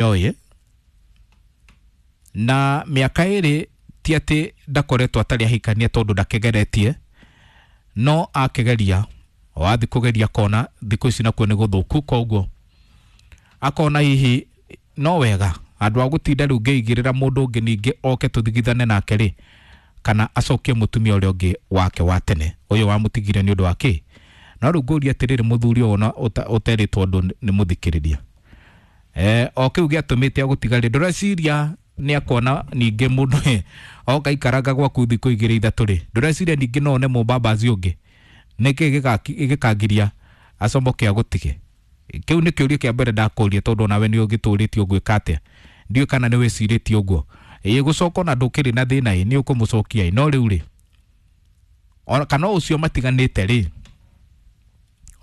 Oĩ na mĩaka 2 ti atĩ ndakoretwo atarĩ ahikania tondũ ndakegeretie, no akegeria wathi kũgeria kona thikũ ici nakuo nĩ gũthũku, koguo akona hihi no wega andũ a gũtinda rĩu ngĩigĩrĩra mũndũ ũngĩ ningĩ oke tũthigithane nake rĩ, kana acokie mũtumia ũrĩa ũngĩ wake wa tene ũyũ wamũtigire nĩ ũndũ wa kĩ. No rĩu ngũria atĩrĩrĩ, mũthuri ũyũ ona ũterĩtwo ũndũ nĩ mũthikĩrĩria o kĩu gĩatũmĩte agũtiga rĩ, ndũreciria nĩ akona ningĩ mũndũ oka ikaraga gwaku thikũ 2 3 rĩ, ndũreciria ningĩ no one mũmbambazi ũngĩ? Nĩkĩ gĩkangiria acomoke agũtige? Kĩu nĩ kĩũria kĩa mbere ndakũria, tondũ onawe nĩ ũgĩtũrĩtie ũgwĩka atĩa, ndiũĩ kana nĩ wĩcirĩtie ũguo. Ĩĩ gũcoka ona ndũkĩrĩ na thĩna ĩ, nĩ ũkũmũcokia ĩ, no rĩu rĩ, ona kana ũcio matiganĩte rĩ,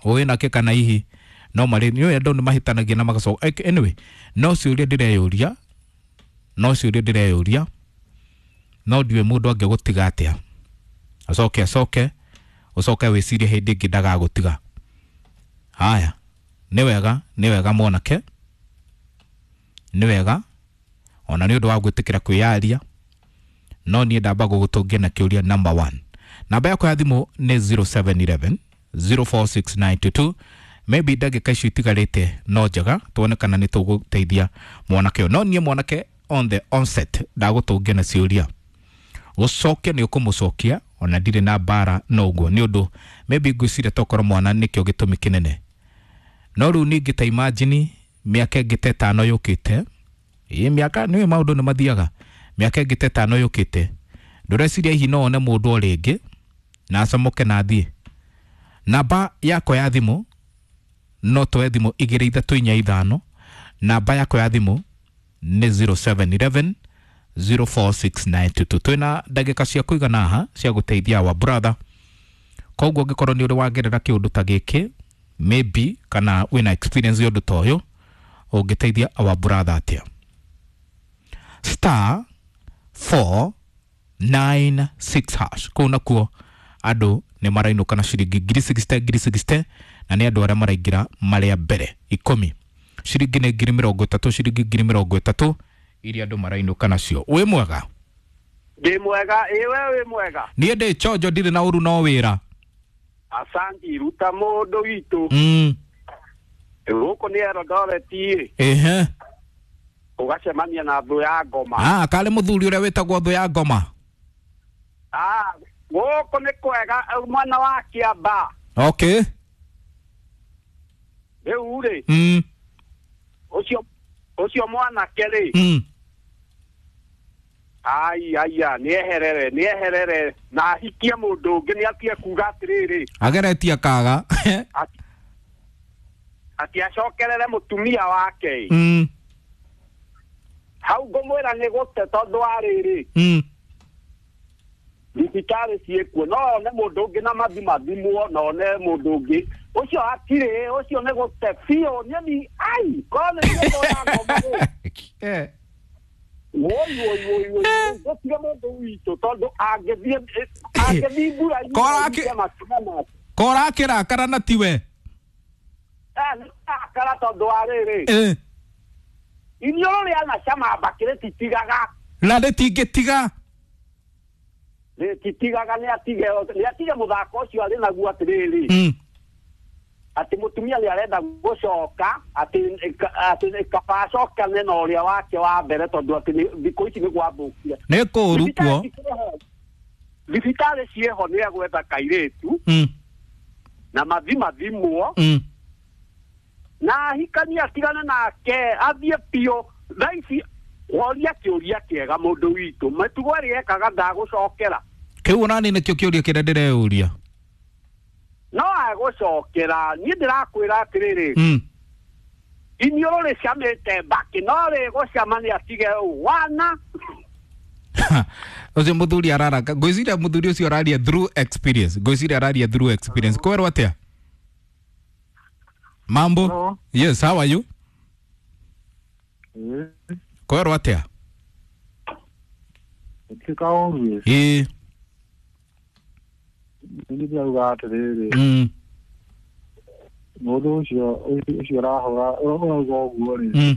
ũĩ nake kana hihi no marĩ nĩ andũ nĩ mahĩtanagia na magacoka. Anyway, no ciũria ndĩreyũria, no ciũria ndĩreyũria, no ndiũĩ mũndũ angĩgũtiga atĩa acoke acoke ũcoke wĩcirie hĩndĩ ĩngĩ ndagagũtiga. Haya, nĩ wega, nĩ wega mwanake, nĩ wega ona nĩ ũndũ wa gwĩtĩkĩra kwĩyaria, no niĩ ndamba gũgũtũngia na kĩũria number 1. Namba yakwa ya thimũ nĩ 0711 046922. Maybe ndagĩka icio itigarĩte no njega tuone kana nĩ tũgũteithia mwanake ũyũ. No niĩ mwanake on the onset ndagũtũngia na ciũria, gũcokia nĩ ũkũmũcokia, ona ndirĩ na mbara no ũguo, nĩ ũndũ maybe ngwĩciria tokorwo mwana nĩkĩo gĩtũmi kĩnene. No rĩu ningĩ ta imagine mĩaka ĩngĩ ta 5 yũkĩte, ĩ mĩaka nĩũĩ maũndũ nĩ mathiaga, mĩaka ĩngĩ ta 5 yũkĩte, ndũreciria hihi no one mũndũ o rĩngĩ na acomoke na athiĩ. Namba yakwa ya thimũ no twoe thimũ 2 3 4 5. Namba yakwa ya thimũ nĩ 0711 046922. Twĩna ndagĩka cia kũigana haha cia gũteithia our brother, koguo ũngĩkorwo nĩ ũrĩ wagerera kĩũndũ ta gĩkĩ maybe kana wĩna experience ya ũndũ ta ũyũ, ũngĩteithia our brother atĩa? Star 496 hash, kũu nakuo andũ nĩ marainũka na ciringi ngiri 60 ngiri 60, na nĩ andũ arĩa maraingĩra marĩa mbere 10, ciringi nĩ ngiri 30, ciringi ngiri 30 iria andũ marainũka nacio. Wĩ mwega? Ndĩ mwega. Ĩ we wĩ mwega? Niĩ ndĩ chonjo, ndirĩ na ũru no wĩra. Asanti, ruta mũndũ witũ. Gũkũ nĩ Eldoret ĩ. Ehe. Ũgacemania na thũ ya ngoma. Ah, karĩ mũthuri ũrĩa wĩtagwo thũ ya ngoma. Ah, gũkũ nĩ kwega mwena wa Kĩamba. Okay. Rĩu rĩ, ũcio mwanake rĩ, ai aya nĩ eherere, nĩ eherere na ahikie mũndũ ũngĩ, nĩ atige kuga atĩrĩrĩ, ageretie kaga ati acokerere mũtumia wake. Hau ngũmwĩra nĩ gũte tondũ wa rĩrĩ, thibitarĩ ciĩkuo, no one mũndũ ũngĩ na mathimathimwo, no one mũndũ ũngĩ ũcio hatirĩ, ũcio nĩ gũte biũ. Niĩ ai korwo nĩ thũ ya ngoma rĩ, woi woi woi woi, gũtige mũndũ witũ tondũ angĩthiĩ mbura-inĩ Kora akĩrakara na tiwe. Nĩ arakara tondũ wa rĩrĩ, iniũrũ rĩa na cama mbakĩ rĩtitigaga. Na rĩtingĩtiga. Rĩtitigaga, nĩ atige mũthako ũcio arĩ naguo atĩrĩrĩ, atĩ mũtumia nĩ arenda gũcoka, atĩ kaba acokane na ũrĩa wake wa mbere tondũ atĩ thikũ ici nĩ gwathũkire. Nĩ kũũru kuo. Thibitarĩ ciĩho, nĩ egwetha kairĩtu na mathimathimwo na ahikanie, atigane nake athiĩ biũ. Thaa ici woria kĩũria kĩega mũndũ witũ, mĩtugo ĩrĩa ekaga ndagũcokera. Kĩu onani nĩkĩo kĩũria kĩrĩa ndĩreyũria. No agũcokera, niĩ ndĩrakwĩra atĩrĩrĩ, iniũrũ rĩcamĩte mbakĩ, no rĩgũcama nĩ atige wana. Ũcio mũthuri araraka, ngwĩciria mũthuri ũcio araria through experience, ngwĩciria araria through experience. Kwerwo atĩa? Mambo? Hello. Yes, how are you? Kwerwo atĩa? Ĩtuĩka ũguo. Ĩĩ. Nĩ ndĩrauga atĩrĩrĩ, mũndũ ũcio ũrahũra ũrauga ũguo rĩ,